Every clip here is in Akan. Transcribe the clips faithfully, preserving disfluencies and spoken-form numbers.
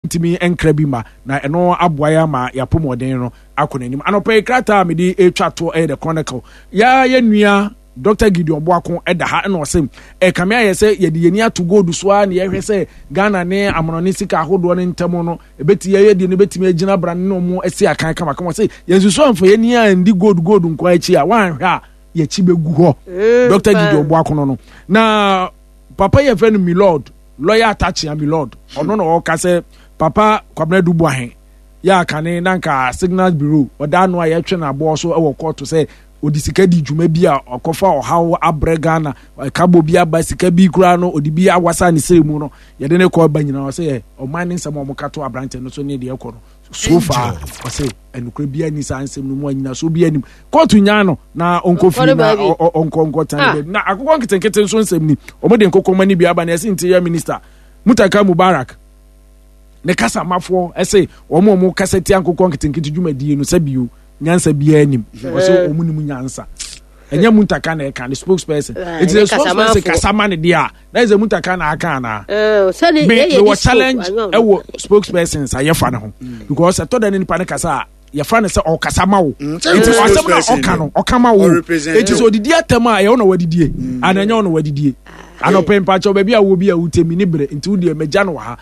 Ntumi nkra bi ma na ɛno aboa yɛ ama yɛapɔmɔden no akɔ n'anim. Anɔpɛ yi, krataa a mede retwa to ɛyɛ The Chronicle. Yɛa yɛ nua Doctor Gideon Boako ɛda ha, ɛna ɔsɛ ɛkame ayɛ sɛ yɛde yɛni ato gold so a, na yɛhwɛ sɛ Ghana ne amanɔne sika ahodoɔ no ntam no ɛbɛti yɛyɛ deɛ no bɛtumi agyina bra ne ɔmo asi akan kamakama. Sɛ yɛnsusu amfa yɛni a ndi gold gold nko akyi a, woanhwɛ a yɛkyi bɛgu hɔ. mm, Doctor Gideon Boako no no na papa yɛ fɛ no Milord, Lawyer Atachia Milord. Ɔno na ɔka sɛ Papa Kwabena Dubuahe yɛ akane na nka Signals Bureau ɔda ano a yɛtwe n'aboɔ so wɔ kɔɔto sɛ ɔde sika di dwuma bi a ɔkɔfa ɔhaw abrɛ Ghana, ɛkabɔ bi aba, sika bi koraa no ɔde bi awasa ne sere mu no, yɛde ne kɔ ba nyinaa. Ɔsɛ yɛ ɔman ne nsɛm a wɔka to aberanteɛ no so ne deɛ ɛkɔ no so far, ɔsɛ ɛnukura bi ani saa nsɛm no mu anyinaso bi anim kóòtù nyaa no na ɔnkɔ fie na ɔnkɔ nkɔ tan baabi. Na akokɔ nketenkete nso nsɛm ni, wɔn de nkokɔ ni bi aba na ɛsɛ Interior Minister Mutaka Mubarak ne kasamafoɔ ɛsɛ wɔn a wɔn kasa tia nkokɔ nketenkete dwumadie no sɛ bio nyansa biara nim. Ɔsɛ wɔn nim nyansa, ɛnyɛ Muntaka na ɛka ne spokesperson. Eti the spokesperson kasa ma ne deɛ a, na ɛsɛ Muntaka na aka ana me me wɔ challenge ɛwɔ spokespersons a yɛfa ne ho, because ɛtɔ da ne nipa ne kasa a, yɛfa ne sɛ ɔkasa ma wo. Eti asɛm na ɔka no, ɔka ma wo. Eti sɛ odidi atɛm a, ɛyɛ ɔna wadidie ana ɛnyɛ ɔna wadidie? Anɔpɛ mpakyɛw, baabi a wɔ bi a wotemi ne berɛ nti wodeɛ mɛgya no wɔ ha.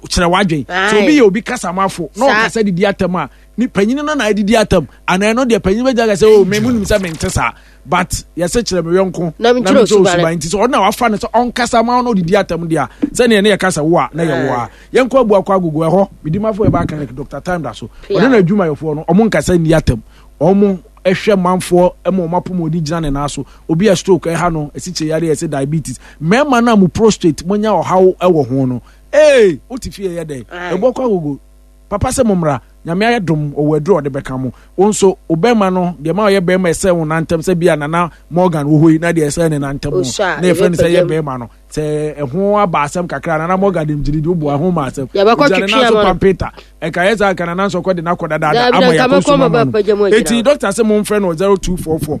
Kyerɛ wadwen sɛ obi yɛ obi kasamafo na ɔkasa didi atɛm a, ni panyin no na adidi atam ana ɛno deɛ panyin bɛgya ka sɛ, "O, me mu nim sɛ mente saa," but yɛsɛ kyerɛ me yɔnko na mekyerɛ osuban. Nti sɛ ɔno na wafa no sɛ ɔnkasa ma ɔno ɔdidi atam deɛ a, sɛneɛ ne yɛka sɛ wo a na yɛ wo a. Yɛnkɔ Abuakɔ Agogo ɛhɔ medimafo ɛba clinic, Doctor Time da so. Ɔne no adwumayɛfoɔ no, ɔmo nkasa nni atam, ɔmo ɛhwɛ manfoɔ ma ɔmo apɔmɔden gyina ne nan so. Obi a stroke ɛha no, ɛsikyire yareɛ, ɛsɛ diabetes, mmarima no a mo prostate monya ɔhaw ɛwɔ ho no, ee, wote fie yɛ dɛ Ɛbɔkɔ Agogo papa sɛ mo mmra. Nyame ayɛ dom, ɔwɔ aduru a ɔde bɛka mo. Wo nso wo bɛrima no deɛ ma ɔyɛ bɛrima ɛsɛ wo nantam sɛ bia Nana Morgan wɔ hɔ yi na deɛ ɛsɛ ne nantam no na yɛfrɛ no sɛ yɛ bɛrima no sɛ ɛho aba asɛm kakra. Nana Morgan dem gyiri de woboa ɛho ma asɛm gyina ne nan so pampeta ɛka yɛ sɛ anka Nana nso kɔ de n'akɔ dadaada ama yɛakɔ suma ma no. Eti doctor sɛ momfrɛ no zero two four four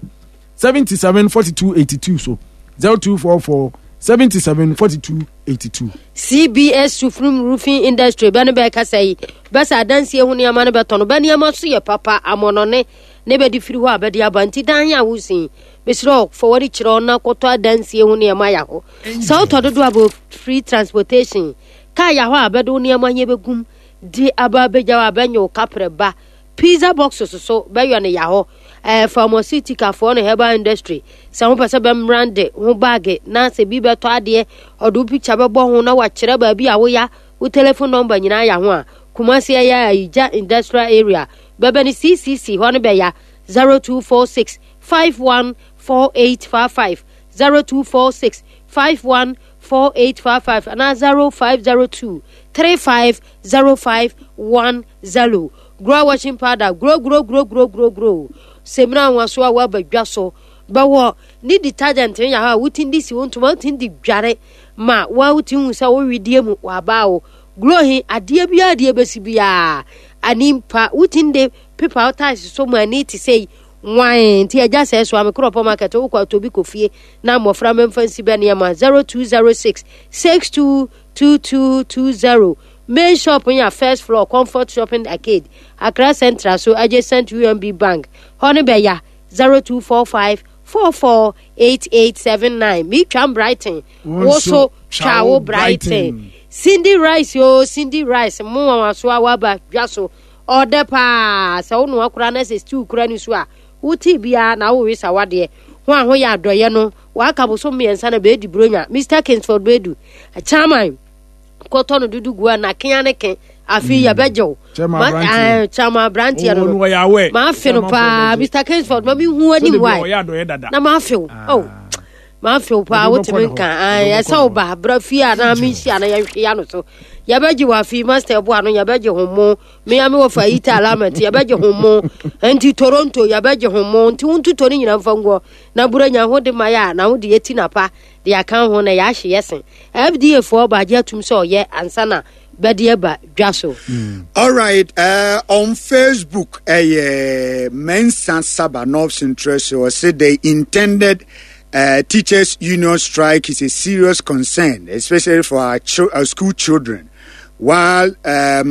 seventy-seven forty-two eighty-two, so zero two four four seventy-seven forty-two eighty-two. C B S Sufrum Roofing Industry bɛ no bɛɛkasa yi bɛsɛ adansie ho nneɛma no bɛtɔ no bɛ nneɛma so yɛ papa amɔnɔne ne bɛde firi hɔ a bɛde aba. Nti dan a wosin, mesrɛ fa wɔde kyerɛ na kɔtɔ adansie ho nneɛma yɛ hɔ. Sɛ wotɔ dodo a, bɛ free transportation kaa yɛ hɔ a bɛde wo nneɛma nyɛ bɛgum de aba abɛgya hɔ a bɛnyɛ wo kaprɛ ba. Pizza boxes so bɛyɔ no yɛ hɔ. Ɛɛ pharmaceutical foɔ no, herbal industry, sɛ wopɛ sɛ bɛmbrande ho bag na sɛ bi bɛtɔ adeɛ, ɔde wo picture bɛbɔ ho na wakyerɛ baabi a woya, wo telephone number nyinaa yɛ ho a, Kumasi ɛyɛ Ayigya Industrial Area, bɛbɛ ne C C C hɔ no bɛya zero two four six five one four eight five five, zero two four six five one four eight five five anaa zero five zero two three five zero five one zero. Grow washing powder, grow grow grow grow grow grow semina nwaso a waba dwa so bɛwɔ ne detergent no yɛ hɔ a wotin de si wo ntoma, wotin de dware ma wa wotin hu sɛ wowedie mu wabaa wo glow he adeɛ biara adeɛ bɛsi biara ani mpa wotin de pepa wo tiles so mu ani te sɛ wan. Nti agya sɛ so amekorɔpɔ market, wokɔ atɔ bi kɔ fie na mmɔfra mɛmfa nsi bɛ nneɛma. zero two zero six six two two two two zero. Main shop yɛ first floor, Comfort Shopping Arcade, Accra Central so, adjacent U M B Bank hɔ no bɛya zero two four five four four eight eight seven nine. Metwam Brighton, wo so twa wo Brighton. Cindy Rice o, Cindy Rice mo wanwaso a waba dwa so, ɔdɛ paa. Sɛ wo noa koraa na sɛ stew kora ne so a, wote biara na wowe sa wadeɛ ho a ho yɛ adɔyɛ no waka boso mmiɛnsa na bɛɛdi buronya. Mister Kingsford Bɛdu chairman kɔtɔ no dudu gu a na kea ne ke afei mm. Yɛbɛgye wo chairman aberanteɛ no no maafe no paa. Mister Kingsford, ma mehu anim wae na maafe wo ah. Oh, maafe wo paa, wotumi nka ɛsɛ wo ba bra fie a na menhyia na yɛnhwe ya no so. Yɛbɛgye wɔ afei master boa no, yɛbɛgye ho mo mea me wɔ fa yita alament, yɛbɛgye ho mo. Nti Toronto yɛbɛgye ho mo, nti wontotɔ no nyina mfa nguɔ na buranya ho de ma yɛ a na wode yɛti napa de aka ho na yɛahye yɛ sen F D A foɔ baagye atum sɛ ɔyɛ ansa na bɛde aba dwa so. Mm. All right, uh, on Facebook, uh, Mensa Saba North Central so said the intended uh, teachers union strike is a serious concern, especially for our, our school children. While um,